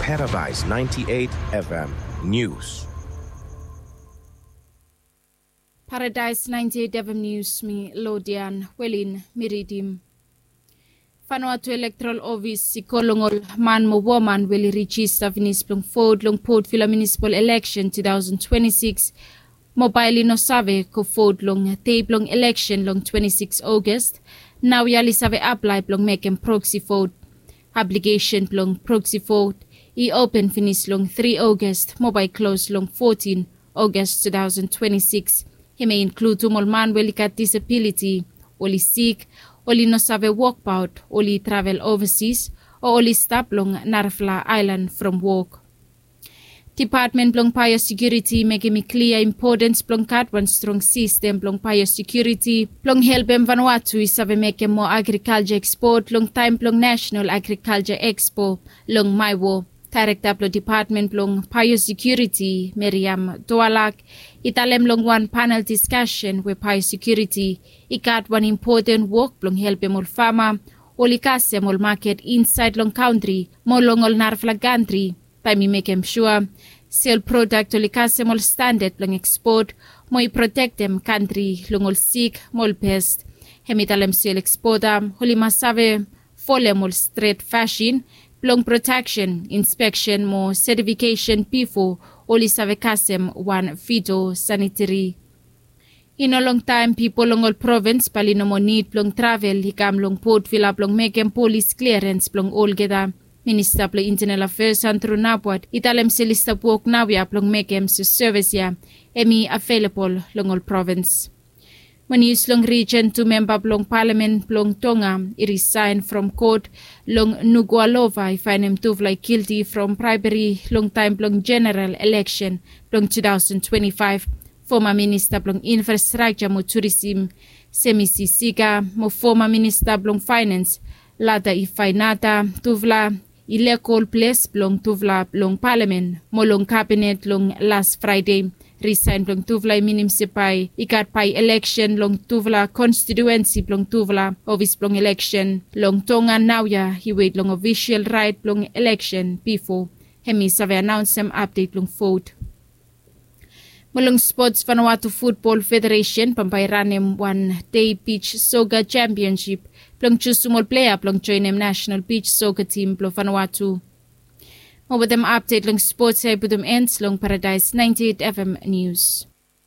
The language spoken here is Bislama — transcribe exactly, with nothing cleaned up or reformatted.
Paradise ninety-eight F M News. Paradise ninety-eight F M News, mi Lodian Welin mi ridim. Vanuatu Electoral Office i kol long ol man mo woman we oli rijista finis blong vot long Port Vila Municipal Election two thousand twenty-six mo bae oli no save go vot long dei blong election long twenty-six August. Nao ya oli save aplae blong mekem proxy vot. Aplikesen blong proxy vot i open finis long three August mo bae i klos long fourteen August two thousand twenty-six. Hem i inkludim ol man we oli gat disabiliti, oli sik, oli no save wokbaot, oli travel ovasis, o oli stap long narafala aelan from wok. Dipatmen blong baeosekiuriti i mekem i klia impotens blong gat wan strong sistem blong baeosekiuriti blong helpem Vanuatu i save mekem moa agrikalja ekspot long taem blong Nasenal Agrikalja Ekspo long Maewo. Daerekta blong Dipatmen blong Baeosekiuriti, Meriam Toalak, i talem long wan panel diskasen we baeosekiuriti i gat wan impoten wok blong helpem ol fama oli kasem ol maket insaed long kantri mo long ol narafala kantri, taem i mekem sua se ol prodak oli kasem ol standad blong ekspot mo i protektem kantri long ol sik mo ol pest. Hem i talem se ol ekspota oli mas save folem ol stret fasin blong proteksen, inspeksen mo setifikesen bifo oli save kasem wan fitosaniteri. I no longtaem pipol long ol provens bae oli no moa nid blong travel i kam long Port Vila blong mekem polis kliarens blong olgeta. Minista blong Intenal Afeas Andrew Nabwat i talem se oli stap wok naoia blong mekem se sevis ya hem i avelabol long ol provens. Mo nius long rijen, tu memba blong palamen blong Tonga i risaen from kot long Nuku'alofa i faenem tufala i gilti from braeberi long taem blong jeneral eleksen blong two thousand twenty-five. Foma minista blong infrastrakja mo turisim Semisi Sika mo foma minista blong faenens Lata Ifainata, tufala i lego ol ples blong tufala long palamen mo long kabinet long las Fraede. Risaen blong tufala i minim se bae i gat bae eleksen long tufala konstitiuensi blong tufala ofis blong eleksen long Tonga naoia i wet long ofisel raet blong eleksen bifo hem i save anaonsem apdet blong vot. Mo long spots, Vanuatu Futbol Federesen bambae i ranem wan dei bij soka jempionsip blong jusum ol plea blong joenem nasenal bij soka tim blong Vanuatu. Mo wetem apdet long spots ya i putum en long Paradaes ninety-eight F M Nius.